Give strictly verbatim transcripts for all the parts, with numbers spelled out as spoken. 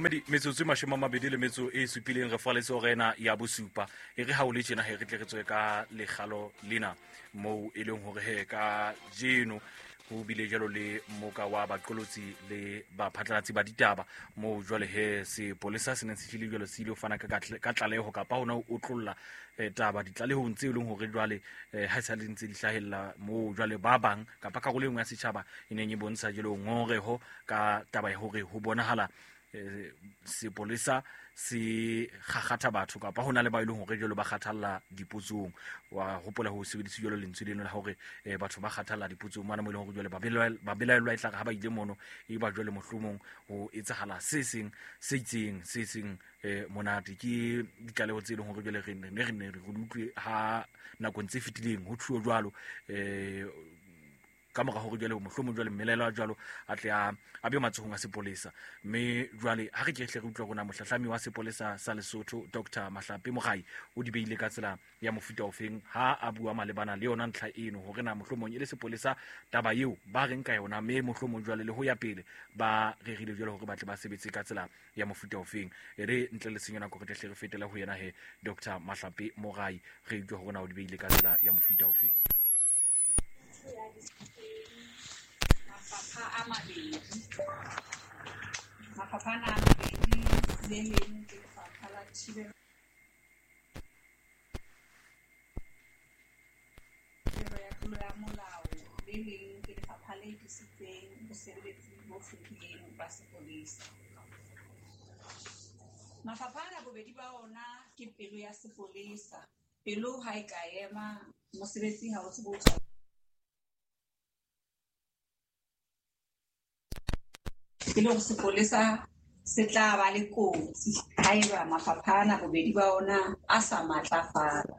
Momamedi, metsotso e mashome a mabedi le metso e supileng re faletse hora ena ya bosupa. E re ha o le tjena he re tle re tswe ka lekgalo lena moo e leng hore he ka jeno ho bile jwalo le moka wa baqolotsi le baphatlalatsi ba ditaba moo jwale he sepolesa se neng se hlile jwalo se ile ho fana ka ka tlaleho kapa hona ho otlolla eh, taba ditlalehong tse leng hore jwale eh, ha sa le ntse di hlahella moo jwale ba bang kapa karolo e nngwe ya setjhaba e neng e bontsha jwalo ngongoreho ka taba ya hore ho bonahala eh, sepolesa se kgakgatha batho kapa hona le ba eleng hore jwalo ba kgathalla dipotsong. Wa hopola ho sebedisa jwalo lentswe leno la hore eh, batho ba kgathalla dipotsong mona mo eleng hore jwale ba belaellwa e tla re ha ba ile mono e ba jwale mohlomong ho etsahala se seng se itseng se seng eh, monate. Ke ditlaleho tse leng hore jwale re ne re ne re utlwe ha nakong tse fetileng ho thuo jwalo eh ka mora hore jwale mohlomong jwale mmelaelwa jwalo a tle a a be matsohong a sepolesa. Mme jwale ha re ke hle re utlwa rona mohlahlami wa sepolesa sa Lesotho Doctor Mahlape Mogai o di beile ka tsela ya mofuta ofeng ha a bua malebana le yona ntlha eno hore na mohlomong e le sepolesa taba eo ba reng ka yona, mme mohlomong jwale le ho ya pele ba rerile jwale hore ba tle ba sebetse ka tsela ya mofuta ofeng. E re ntle le senyo nako re tle hle re fetele ho yena he Doctor Mahlape Mogai re utlwe hore na o di beile ka tsela ya mofuta ofeng. Mafapha a mabedi, mafapha ana a mabedi, le leng ke lefapha la thibelo ya tlolo ya molao, le leng ke lefapha le disitseng bosebeletsi bo hlwekileng ba sepolesa. Mafapha ana bobedi ba ona ke pelo ya sepolesa. Pelo ha e ka ema, mosebetsi ha o tsebe ho tswa. Ke le hore sepolesa se tla ba le kotsi haeba mafapha ana bobedi ba ona a sa matlafala.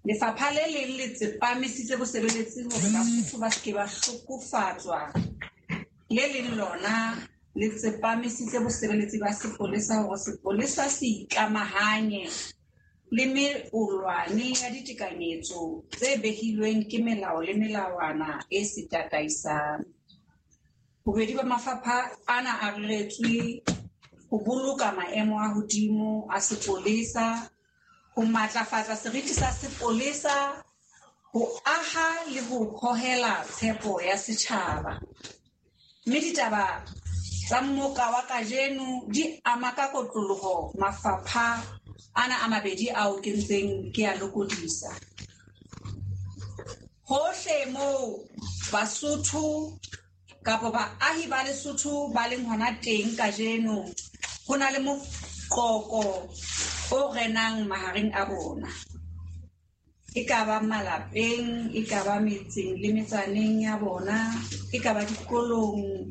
Lefapha le leng le tsepamisitse bosebeletsi hore Basotho ba se ke ba hlokofatswa. Le leng lona le tsepamisitse bosebeletsi ba sepolesa hore sepolesa se ikamahanye le meolwane ya ditekanyetso tse behilweng ke melao le melawana e se tataisang. Bobedi ba mafapha ana a reretswe ho boloka maemo a hodimo a sepolesa, ho matlafatsa seriti sa sepolesa, ho aha le ho hohela tshepo ya setjhaba. Mme ditaba tsa mmoka wa kajeno di ama ka kotloloho mafapha ana a mabedi ao ke ntseng ke a lokodisa. Hohle moo Basotho kapa baahi ba Lesotho ba leng hona teng kajeno, ho na le moqoqo o renang mahareng a bona. E ka ba malapeng, e ka ba metseng le metsaneng ya bona, e ka ba dikolong,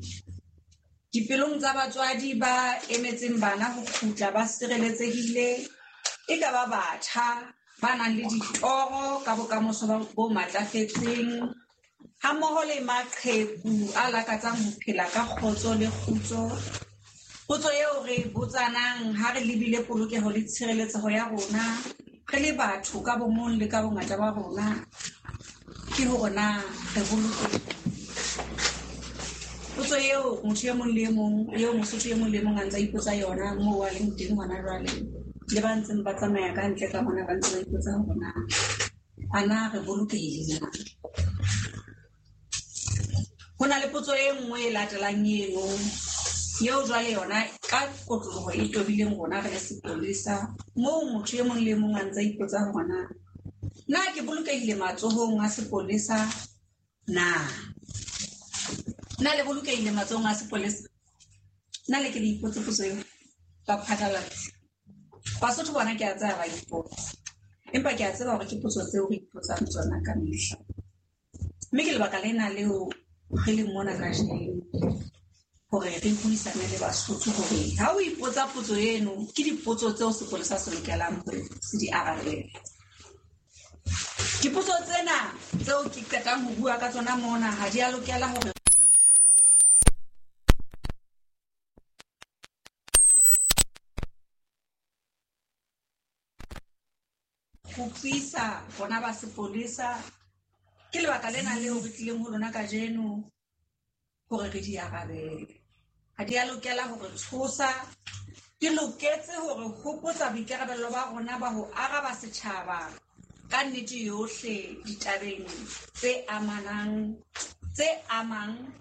dipelong tsa batswadi ba emetseng bana ho kgutla ba sireletsehile, e ka ba batjha ba nang le ditoro ka bokamoso bo matlafetseng, hammoho le maqheku a lakatsang ho phela ka kgotso le kgutso. Potso eo re botsanang ha re lebile polokeho le tshireletseho ya rona re le batho ka bomong le ka bongata ba rona ke hore na re bolokehile. Potso eo motho e mong le e mong, eo Mosotho e mong le e mong a ntsa ipotsa yona moo a leng teng hona jwale, le ba ntseng ba tsamaya ka ntle ka mona ba ntse ba ipotsa hore na a na re bolokehile na. Ho na le potso e nngwe e latelang eno eo jwale yona ka kotloloho e tobileng rona re le sepolesa, moo motho e mong le e mong a ntsa ipotsa hore na na ke bolokehile matsohong a sepolesa na? Na le bolokehile matsohong a sepolesa? Na le ke le ipotse potso eo ba phatlalatsi? Basotho bona ke a tseba ba ipotsa, empa ke a tseba hore ke potso tseo re ipotsang tsona ka mehla. Mme ke lebaka lena leo re leng mona kajeno hore re buisane le Basotho hore ha o ipotsa potso eno, ke dipotso tseo sepolesa se lokelang hore se di arabele. Dipotso tsena tseo ke qetang ho bua ka tsona mona ha di a lokela hore kgutlisa bona ba sepolesa. Ke lebaka lena leo re tlileng ho lona kajeno hore re di arabele. ha di a lokela hore tshosa, di loketse hore hopotsa boikarabello ba rona ba ho araba setjhaba ka nnete yohle ditabeng tse amanang tse amang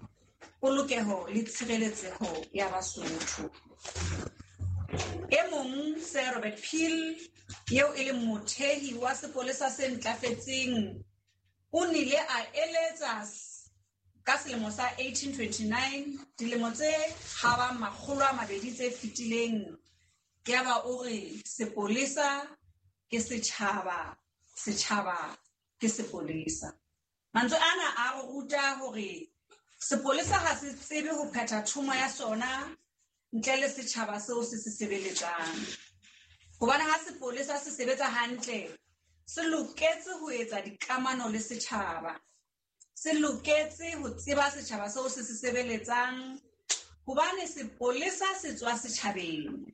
polokeho le tshireletseho ya Basotho. E mong Sir Robert Peel, eo e leng mothehi wa sepolesa se ntlafetseng, o nile a eletsa ka selemo sa eighteen twenty-nine, dilemo tse habang makgolo a mabedi tse fetileng, ke ya ba o re sepolesa ke setjhaba, setjhaba ke sepolesa. Mantswe ana a re ruta hore sepolesa ha se tsebe ho phetha thomo ya sona ntle le setjhaba seo se se sebeletsang. Hobane ha sepolesa se sebetsa hantle, se loketse ho etsa dikamano le setjhaba. Se loketse ho tseba setjhaba seo se se sebeletsang, hobane sepolesa se tswa setjhabeng.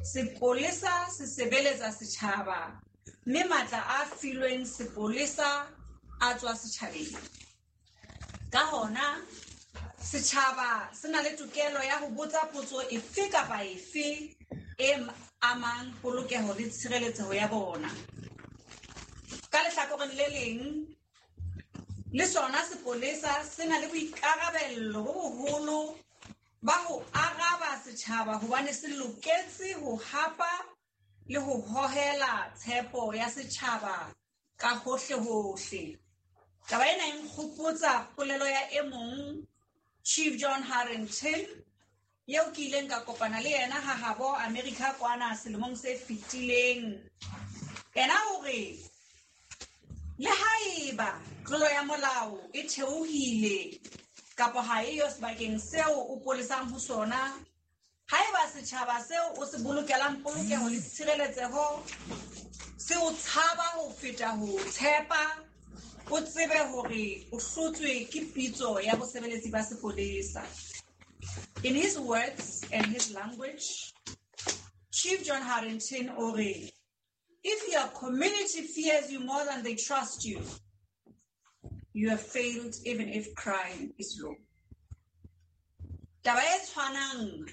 Sepolesa se sebeletsa setjhaba, mme matla a filweng sepolesa a tswa setjhabeng. Ka hona, setjhaba se na le tokelo ya ho botsa potso efe kapa efe e amang polokeho le tshireletseho ya bona. Ka lehlakoreng le leng, le sona sepolesa se na le boikarabello bo boholo ba ho araba setjhaba, hobane se loketse ho hapa le ho hohela tshepo ya setjhaba ka hohle-hohle. Taba ena e nkgopotsa polelo ya e mong, Chief John Harrington, eo ke ileng ka kopana le yena ha habo America kwana selemong se fetileng. Yena o re, le haeba tlolo ya molao e theohile kapa ha eyo sebakeng seo o polesang ho sona, haeba setjhaba seo o se bolokelang polokeho le tshireletseho se o tshaba ho feta ho tshepa, o tsebe hore o hlotswe ke pitso ya bosebeletsi ba sepolesa. In his words and his language, Chief John Harrington o re, if your community fears you more than they trust you, you have failed even if crime is low. Taba e tshwanang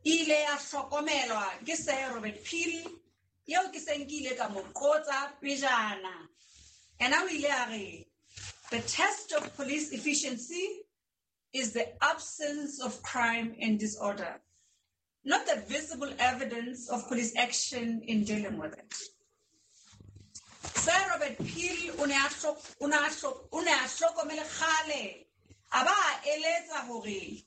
e ile ya hlokomelwa ke Sir Robert Peel, eo ke seng ke ile ka mo qotsa pejana. Yena o ile a re, the test of police efficiency is the absence of crime and disorder, not the visible evidence of police action in dealing with it. Sir Robert Peel o ne a hlokomele kgale, a ba a eletsa hore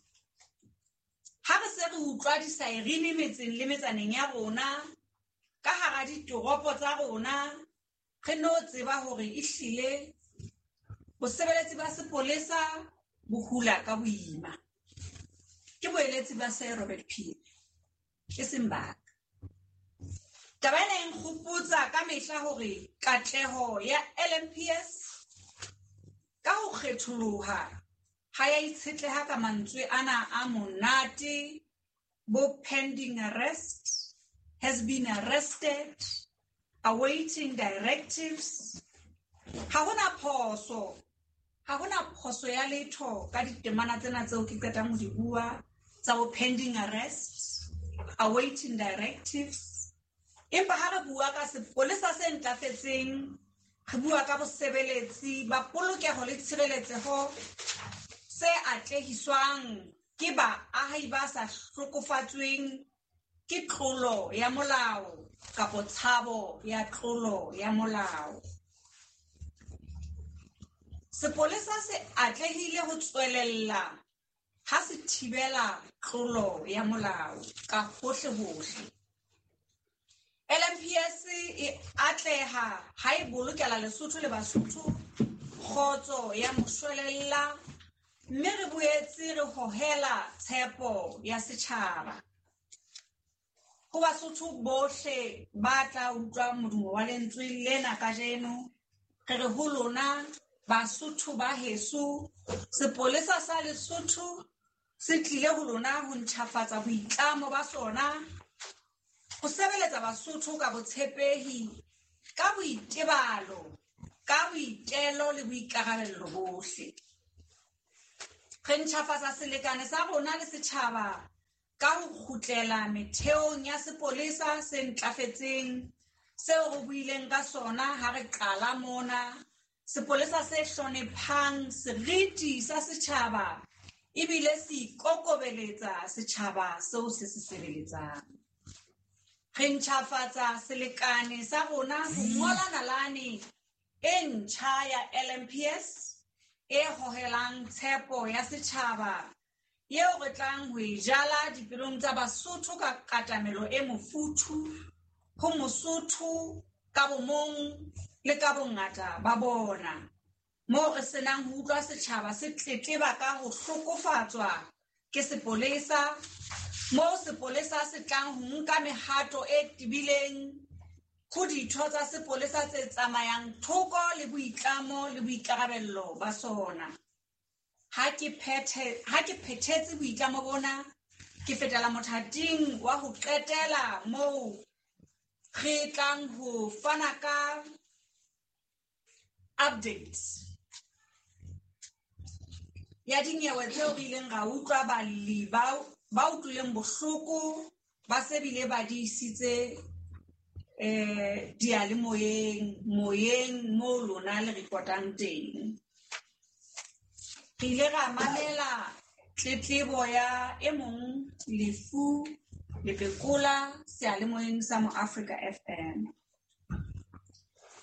ha re se re utlwa disaerine metseng le metsaneng ya rona, ka hara ditoropo tsa rona, re no tseba hore ehlile bosebeletsi ba sepolesa bo hula ka boima. Ke boeletsi ba Sir Robert Peel, e seng ba ka. Taba ena e nkgopotsa ka mehla hore katleho ya L M P S ka ho kgetholoha ha ya itshetleha ka mantswe ana a monate, bo pending arrest, has been arrested, awaiting directives. Ha hona phoso, ha hona phoso ya letho ka ditemana tsena tseo ke qetang ho di bua tsa bo pending arrest, awaiting directives. Empa ha re bua ka sepolesa se ntlafetseng, re bua ka bosebeletsi ba polokeho le tshireletseho se atlehiswang ke baahi ba sa hlokofatsweng ke tlolo ya molao kapa tshabo ya tlolo ya molao. Sepolesa se atlehile ho tswelella ha se thibela tlolo ya molao ka hohle-hohle. L M P S e atleha ha e bolokela Lesotho le Basotho kgotso ya moshwelella, mme re boetse re hohela tshepo ya setjhaba. Ho Basotho bohle ba tla utlwa modumo wa lentswe lena kajeno, re re ho lona Basotho ba heso, sepolesa sa Lesotho se tlile ho lona ho ntjhafatsa boitlamo ba sona, ho sebeletsa Basotho ka botshepehi, ka boitebalo, ka boitelo le boikarabello bohle. Re ntjhafatsa selekane sa rona le setjhaba ka ho kgutlela metheong ya sepolesa se ntlafetseng seo re buileng ka sona ha re qala mona, sepolesa se hloniphang seriti sa setjhaba ebile se ikokobeletsa setjhaba seo se se sebeletsang. Re ntjhafatsa selekane sa rona ho ngola nalane e ntjha ya L M P S e hohelang tshepo ya setjhaba eo re tlang ho e jala dipelong tsa Basotho ka katamelo e mofuthu ho Mosotho ka bomong le ka bongata ba bona, moo re senang ho utlwa setjhaba se tletleba ka ho hlokofatswa ke sepolesa, moo sepolesa se tlang ho nka mehato e tebileng ho ditho tsa sepolesa tse tsamayang thoko le boitlamo le boikarabello ba sona. Ha ke phethe ha ke phethetse boitlamo bona, ke fetela mothating wa ho qetela moo re tlang ho fana ka updates ya dinyewe tseo re ileng ra utlwa balli ba ba utlwileng bohloko ba se bile ba di isitse eh diyalemoyeng moyeng moo lona le reportang teng. Re ile ra mamela tletlebo ya e mong Lefu Lepekola seyalemoyeng sa Mo Africa F M.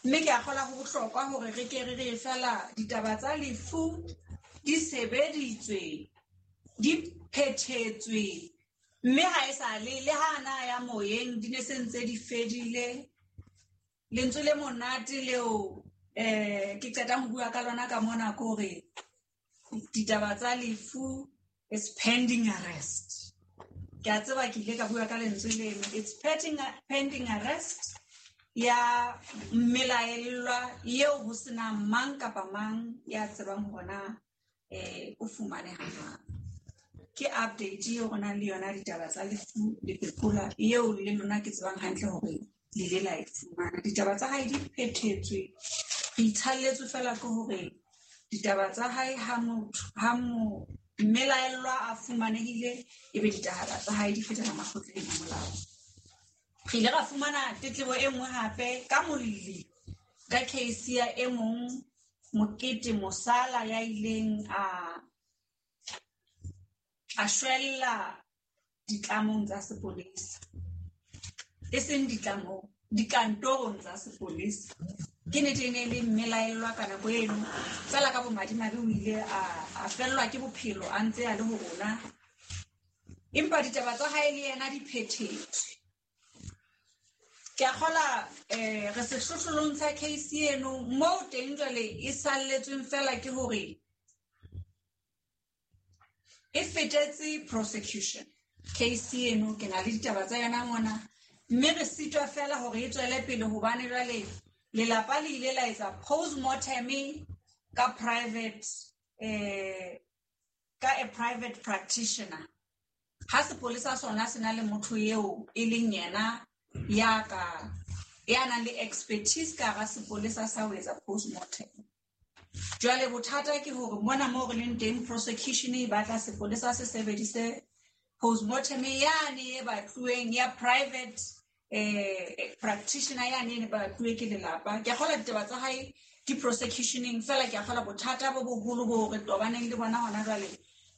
Mme ke a kgolwa ho bohlokwa hore re ke re re fela ditaba tsa Lefu di sebeditswe, di phethetswe, mme ha e sa le le ha na ya moyeng di ne se ntse di fedile. Lentswe le monate leo eh ke qetang ho bua ka lona ka mona ke hore ditaba tsa Lefu is pending arrest. Ke a tseba ke ile ka bua ka lentswe leno, it's pending, pending arrest ya mmelaellwa eo ho senang mang kapa mang ya tsebang hore na eh o fumaneha jwang. Ke update eo re nang le yona ditaba tsa Lefu Lepekola eo le lona ke tsebang hantle hore le ile la e fumana. Ditaba tsa hae di phethetswe, re itshalletswe fela ke hore ditaba tsa hae ha motho ha mo mmelaellwa a fumanehile ebe ditaba tsa hae di fetela makgotleng a molao. Re ile ra fumana tletlebo e nngwe hape ka molli ka case ya e mong Mokete Mosala ya ileng a a shwella ditlamong tsa sepolesa, e seng ditlamong, dikantorong tsa sepolesa. Ke nnete e ne e le mmelaellwa ka nako eno, fela ka bomadimabe o ile a a fellwa ke bophelo a ntse a le ho rona, empa ditaba tsa hae le yena di phethetswe. Ke a kgola eh re sehlohlolong sa case eno moo teng jwale e salletsweng fela ke hore e fetetse prosecution. Case eno ke na le ditaba tsa yona mona, mme re sitwa fela hore e tswele pele hobane jwale lelapa le ile la etsa postmortem ka private eh ka a private practitioner. Ha sepolesa sona se na le motho eo e leng yena ya ka ya nang le expertise ka hara sepolesa sa ho etsa postmortem. Jwale bothata ke hore mona moo re leng teng prosecution e batla sepolesa se sebedise postmortem yane e batluweng ya private eh practitioner yane e batluwe ke lelapa. Ke a kgolwa ditaba tsa hae di prosecutioneng fela, ke a kgolwa bothata bo boholo bo re tobaneng le bona hona jwale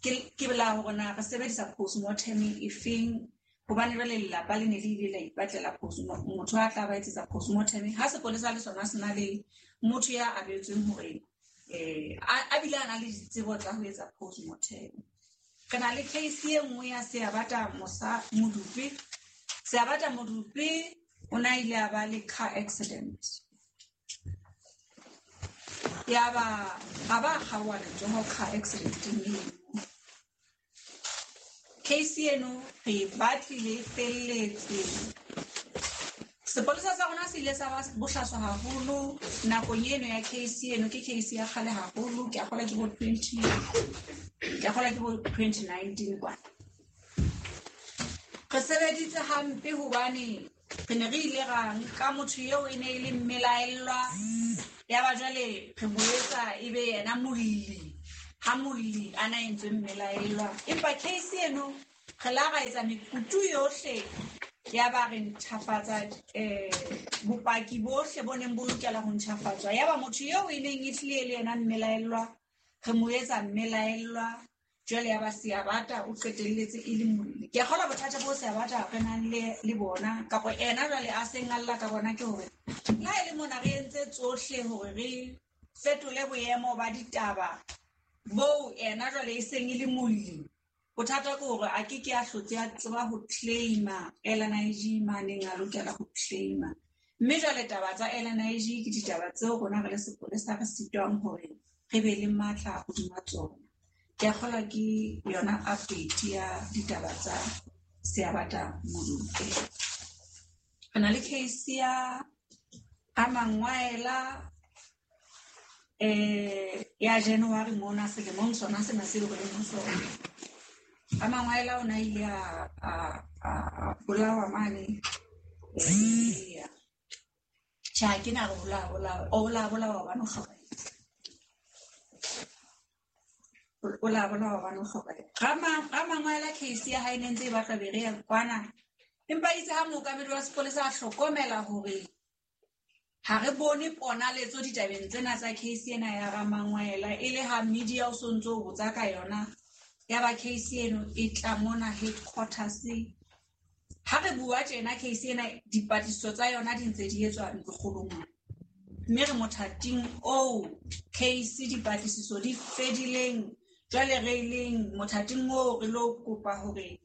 ke ke la hore na re sebedisa postmortem e feng, hobane jwale lelapa le ne le ile la ipatlela postmortem, motho a tla ba etsetsa postmortem. Ha sepolesa le sona se na le motho ya abetsweng hore eh a bile a na le ditsebo tsa ho etsa postmortem. Re na le case e nngwe ya Seabata Mosa Modupe. Seabata Modupe o na ile a ba le car accident, ya ba a ba kgaoha letsoho car accident eo. Case eno re batlile e felletse. Sepolesa sa rona se ile sa ba bohlaswa haholo nakong eno ya case eno. Ke case ya kgale haholo, ke a kgolwa ke bo twenty ke a kgolwa ke bo twenty nineteen kwana. Re sebeditse hampe hobane re ne re ile ra nka motho eo e ne e le mmelaellwa, ya ba jwale re mo etsa ebe yena molli. ha molli a na entswe mmelaellwa. Empa case eno re la ra etsa mekutu yohle ya ba re ntjhafatsa eh bopaki bohle bo neng bo lokela ho ntjhafatswa. Ya ba motho eo e neng e tlile le yena mmelaellwa re mo etsa mmelaellwa, jwale ya ba Seabata o qetelletse e le molli. Ke a kgolwa bothata bo Seabata re nang le le bona kapa ena jwale a seng a lla ka bona ke hore le ha e le mona re entse tsohle hore re fetole boemo ba ditaba boo ena jwale e seng e le molli. Bothata ke hore a ke ke a hlotse a tseba ho claima L N I G maneng a lokela ho claima. Mme jwale taba tsa L N I G ke ditaba tseo rona re le sepolesa re sitwang hore re be le matla hodima tsona. Ke a kgolwa ke yona update ya ditaba tsa Seabata Modupe. Re na le case ya Amangwaela eh ya January mona selemong sona sena seo re leng ho sona. Amangwaela o na ile a a a bolawa mane. Tjhe, ha ke na re bolawa, bolawa. O la bolawa hobane o hlokahetse. O la bolawa hobane o hlokahetse. Rama Ramangwaela case ya hae ne ntse e batla Berea kwana. Empa itse ha mookamedi wa sepolesa a hlokomela hore ha re bone ponaletso ditabeng tsena tsa case ena ya Ramangwaela, e le ha media o so ntso o botsa ka yona, ya ba case eno e tla mona headquarters. Ha re bua tjena case ena dipatlisiso tsa yona di ntse di etswa ntlokgolong mona. Mme re mothating oo case dipatlisiso di fedileng, jwale re leng mothating oo re lo kopa hore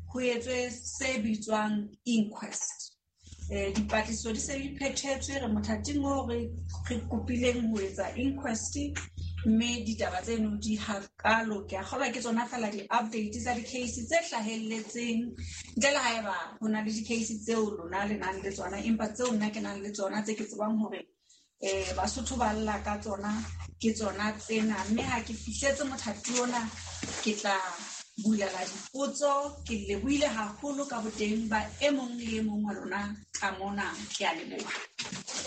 ho etswe se bitswang inquest. Eh dipatlisiso di se di phethetswe, re mothating oo re re kopileng ho etsa inquest, mme ditaba tseno di hakalo. Ke a kgolwa ke tsona fela di-update tsa di-case tse hlahelletseng, ntle le haeba ho na le di-case tseo lona le nang le tsona, empa tseo nna ke nang le tsona tse ke tsebang hore eh Basotho ba lla ka tsona ke tsona tsena. Mme ha ke fihletse mothati ona ke tla bulela dipotso. Ke lebohile haholo ka boteng ba e mong le e mong wa lona ka mona. Ke a leboha.